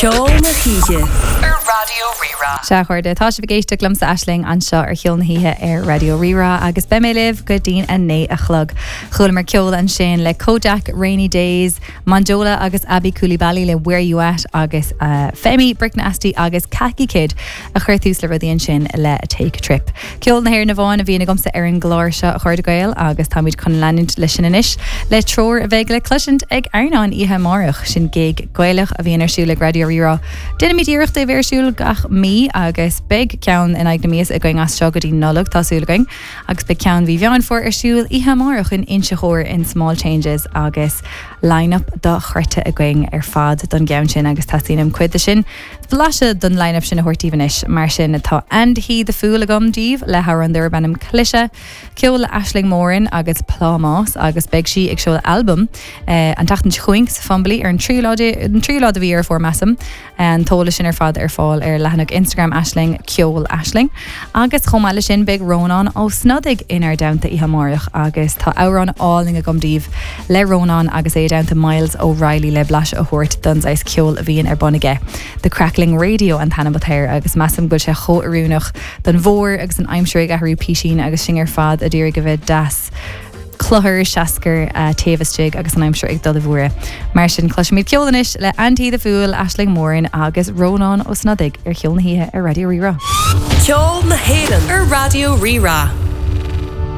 Ceol na hOíche ar Raidió Rí-Rá. Sea, a chairde, tá sibh ag éisteacht liomsa Aisling anseo ar Cheol na hOíche ar Raidió Rí-Rá agus beidh mé libh go dtí'n 9 a chlog. Chualamar ceol ansin le Kojaque, Rainy Days, Monjola agus Aby Coulibaly le Where You At agus Femi, Brick Nasty agus Khaki Kid a chuir tús le rudaí ansin le Take a Trip. Ceol na hÉireann amháin a bhíonn agamsa ar an gclár seo, a chairde Gael, agus táimid chun leanúint leis sin anois le treoir a bheidh le cloisint ag Airneán oíche amárach. Sin gig Gaelach a bhíonn ar siúl ag Raidió Rí-Rá. Déanaimid iarracht é a bheith ar siúl gach mí agus beidh ceann in aghaidh na míosa againn as seo go dtí Nollaig, tá súil againn. Agus beidh ceann mhí Mheán Fómhair ar siúl oíche amárach in Inse Chór in Small Changes agus line-up dochreidte againn ar fad don gceann sin agus teastaíonn uaim cuid de sin Blaiseadh den line-up sin a thabhairt daoibh anois. Mar sin, tá And He The Fool agam daoibh le hamhrán darb ainm Cliseadh, ceol le Aisling Moran agus Plámás agus beidh sí ag seoladh albam an tseachtain seo chugainn sa Fumbally ar an tríú lá de an tríú lá de mhí Dheireadh Fómhair measaim. An t-eolas sin ar fad ar fáil ar leathanach Instagram Aisling, Ceol Aisling. Agus chomh maith leis sin beidh Rónán Ó Snodaigh inár dteannta oíche amárach agus tá amhrán álainn agam daoibh le Rónán agus é i dteannta Myles O'Reilly le blaiseadh a thabhairt don saghas ceoil a bhíonn ar bun aige. The Crackling Radio an t-ainm atá air agus measaim go bhfuil sé chomh oiriúnach don bhfómhar agus an aimsir ag athrú písín agus sinn ar fad a d'iarraidh a bheith deas cluthar seascair taobh istigh agus an aimsir ag dul i bhfuaire. Mar sin cloisfimid ceol anois le And He The Fool, Aisling Moran agus Rónán Ó Snodaigh ar Cheol na hOíche ar Raidió Rí-Rá. Ceol na hÉireann ar Raidió Rí-Rá.